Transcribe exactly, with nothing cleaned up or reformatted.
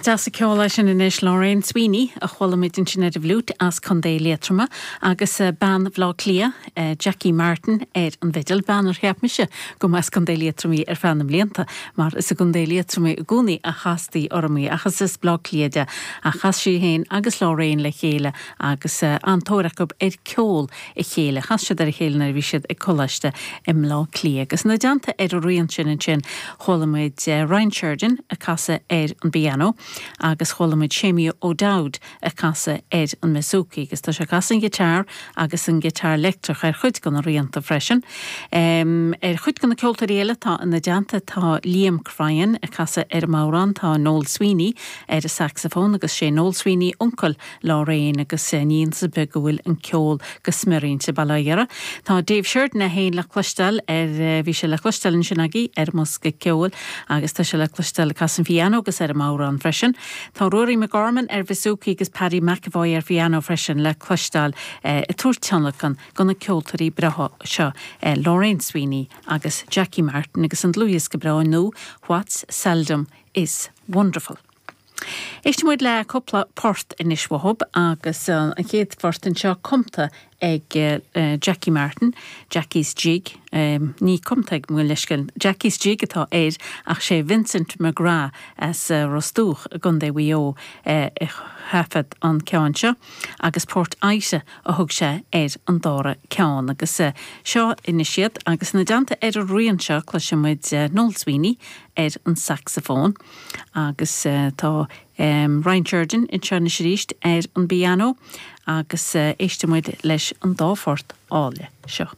Deas an ceol é sin anois Lorraine Sweeney a chuala muid ansin ar an bhfliúit as Contae Liatroma agus eh, bean Bhaile Átha Cliath eh, Jackie Martin ar an bhfidil bean ar cheap mise go mb'as Contae Liatroma ar feadh na mblianta mar is i gContae Liatroma i gcónaí a chastaí orm í ach is as Baile Átha Cliath di a chas sí féin agus Lorraine le chéile agus eh, an-tóir acu ar ceol a chéile chas siad ar a chéile nuair a bhí siad ag coláiste i mBaile Átha Cliath agus ina dteannta ar an rian sin ansin chuala muid Ryan Sheridan ag casadh ar an bpianó agus chuala muid Séimí O'Dowd ag casadh ar an mbouzouki agus tá sé ag casadh an giotár agus an giotár leictreach ar chuid de na rianta freisin. Um, ar chuid de na ceoltóirí eile tá ina dteannta tá Liam Cryan ag casadh ar an mbodhrán tá Noel Sweeney ar an saxophone agus sé Noel Sweeney uncail Lorraine agus ní hiontas go bhfuil an ceol go smior insa bhaile. Tá Dave Sheridan é féin le cloisteáil ar bhí sé le cloisteáil ansin agaibh ar an mbosca ceoil agus tá sé le cloisteáil ag casadh an phianó agus ar an mbodhrán freisin. Tá Rory McGorman ar bouzouki agus Paddy McAvoy ar phianó freisin le cloisteáil eh, ag tabhairt tionlacan do na ceoltóirí breátha seo eh, Lorraine Sweeney agus Jackie Martin agus an dlúthdhiosca breá nua What's Seldom is Wonderful. Éistfidh muid le cúpla port anois uathub agus uh, an chéad phort anseo cumtha ag uh, Jackie Martin, Jackie's Jig, um, ní cumtha ag mu leiscil Jackie's Jig atá air ach sé Vincent McGrath as uh, Ros Dumhach i gContae Mhaigh Eo uh, a thaifead an ceann seo, agus port Aise a thug sé ar an dara ceann agus uh, seo anois iad agus ina dteannta ar an rian seo cloisfidh muid uh, Noel Sweeney ar an saxophone agus uh, tá um, Ryan Sheridan anseo arís ar an bpianó agus uh, éistfidh muid leis an dá phort áille seo.